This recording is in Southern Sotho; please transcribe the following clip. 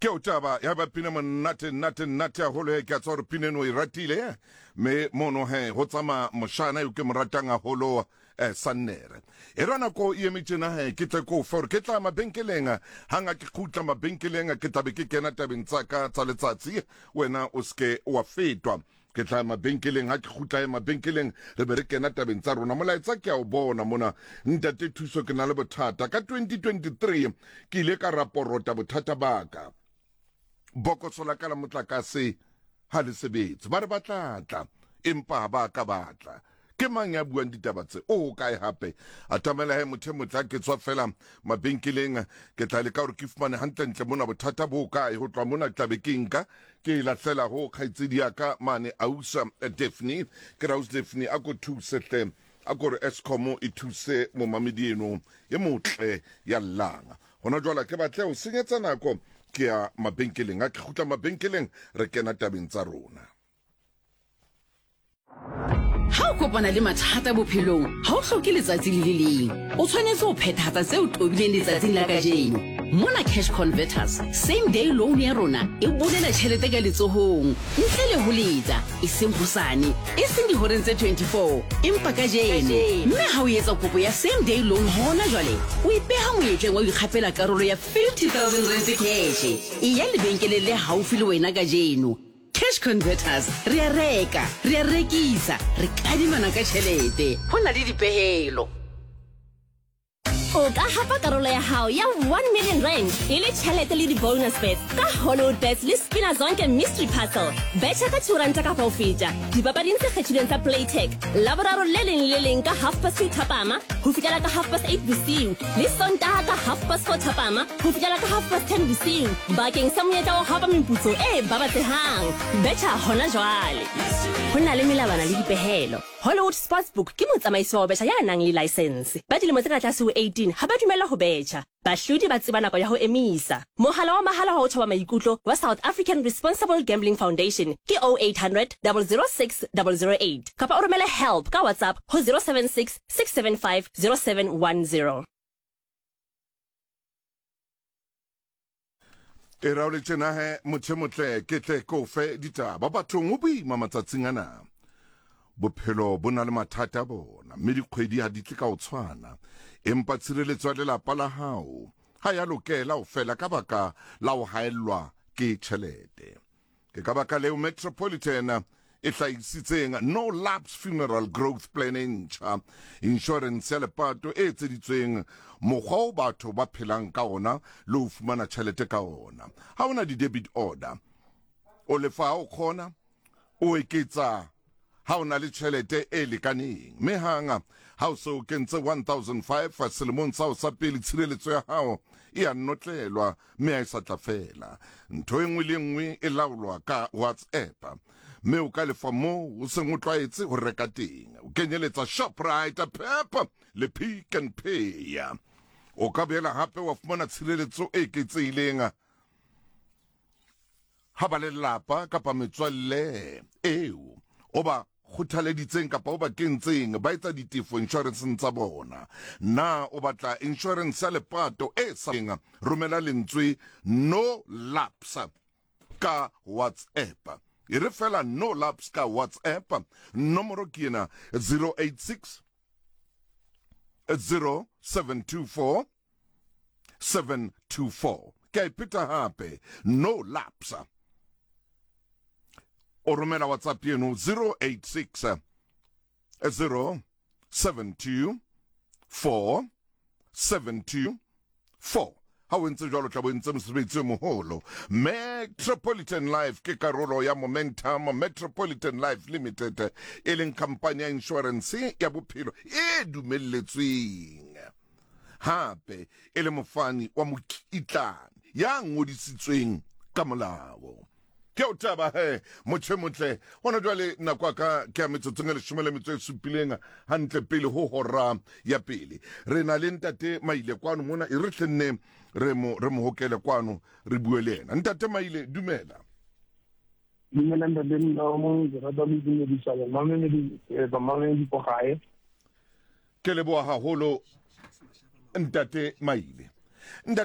Ke o taba ya ba pina monate nate nate haholo he, ke a tswa gore pina eno e ratile mme mono he go tsamaya moshana yo ke mo ratang haholo eh, sannere e ra nako e eme tjena he ke tle ko fe gore ke tla mabenkeleng hanga ke kgutla mabenkeleng ke tlabe ke kena tabeng tsa ka tsa letsatsi wena o seke wa fetwa ke tla mabenkeleng ha ke kgutla ya mabenkeleng re be re kena tabeng tsa rona molaetsa ke a o bona mona ntate thuso ke na le bothata ka 2023 ke ile ka raporota bothata ba ka bokoso la ka la motlakase ha le sebetse ba re ba tla tla empa ha ba ka ba tla ke mang ya buang ditaba tse o kae hape atamela he motho e motle ke tswa fela mabenkeleng ke tla leka gore ke fumane hantlentle mona bothata bo kae ho tloha mona ke tlabe ke nka ke e lahlela ho kgaitsedi ya ka mane ausa Daphne ke re ausi Daphne a ko thuse hle a ko re Eskom e thuse momamedi eno e motle ya llang hona jwale ke batle ho senyetsa nako ke ya mabenkeleng a ke kgutla mabenkeleng re kena tabeng tsa rona Ha o kopana le mathata bophelong, ha o hloke letsatsi le le leng. O tshwanetse ho phethahatsa tse o tobileng letsatsing la kajeno. Mona Cash Converters, same day loan ya rona e bolela tjhelete ka letsohong, ntle le ho letsa, e seng hosane, e seng dihoreng tse 24, empa kajeno. Mme ha o etsa kopo ya same day loan hona jwale, o ipeha monyetleng wa ho ikgapela karolo ya 50,000 rand cash. Eya lebenkeleng le haufi le wena kajeno. Cash Converters, re a reka, re a rekisa, re kadimana ka tšhelete. Go na le dipehelo. O ka hapa karolo ya hao ya 1 million rand e le tšhelete le di-bonus bets ka Hollywood Bets le Spina Zonke Mystery Puzzle. Betšha ka 2 ranta kapa ho feta dipapading tse kgethilweng tsa Playtech Laboraro le leng le leng ka half past 2 thapama ho fihlela ka half past 8 bosiu le Sontaha ka half past 4 thapama ho fihlela ka half past 10 bosiu bakeng sa monyetla wa ho hapa meputso e babatsehang. Betjha hona jwale. Ho na le melawana le dipehelo. Hollywood Sportsbook ke motsamaisi wa ho betjha ya nang le laesense. Ba dilemo tse ka tlase ho 18 ha ba dumellwa ho betjha. Bahlodi ba tseba nako ya ho emisa. Mohala wa mahala wa ho thoba maikutlo wa South African Responsible Gambling Foundation ke 0800 006 008 kapa o romele help ka WhatsApp ho 076 675 0710. E ra o le tjena he motho e motle ke tle ke o fe ditaba bathong ho boima matsatsing ana bophelo bo na le mathata a bona mme dikgwedi ha di tle ka ho tshwana empa tshireletso ya lelapa la hao ha ya lokela ho fela ka baka la ho haellwa ke tjhelete Ke ka baka leo Metropolitan e hlahisitseng No Lapse Funeral Growth Plan e ntjha, inshorense ya lepato e etseditsweng mokgwa o batho ba phelang ka ona le ho fumana tjhelete ka ona. Ha o na di-debit order, o lefa ha o kgona, o eketsa ha o na le tjhelete e lekaneng, mme hang ha o se o kentse 1005 selemong sa hao sa pele, tshireletso ya hao e a notlelwa mme ha e sa tla fela. Ntho e nngwe le e nngwe e laolwa ka WhatsApp, mme o ka lefa moo o seng o tlwaetse ho reka teng, o kenyeletsa Shoprite, Pep le Pick n Pay. O ka boela hape wa fumana tshireletso e eketsehileng Ha ba lelapa kapa metswalle eo o ba kgothaleditseng kapa o ba kentseng ba etsa ditefo inshorenseng tsa bona. Na o batla inshorense ya lepato e sa romela lentswe no lapse ka WhatsApp. E re fela no lapse ka WhatsApp. Nomoro ke ena 086 0724 724 ke a ipheta gape no lapsa o romela whatsapp yeno 086 0 72 4 72 4 ha o entse jwalo tla bo entse mosebetsi o moholo metropolitan life ke karolo ya momentum metropolitan life limited e leng khampani ya insurance ya bophelo e dumelletsweng hape e le mofani wa mokitlane ya ngodisitsweng ka molao. Ke o taba he motho e motle hona jwale nako ya ka ke ya metsotsong e leshome le metso e supileng hantle pele ho hora ya pele re na le ntate maile kwano mona e re hlenne re mo re mo hokele kwano re bue le yena ntate maile dumela dumela ntate Mlomo ke rata go itumedisa bamamedi eh, bamamedi ko gae Ke leboha haholo Ntate Maile. Ntate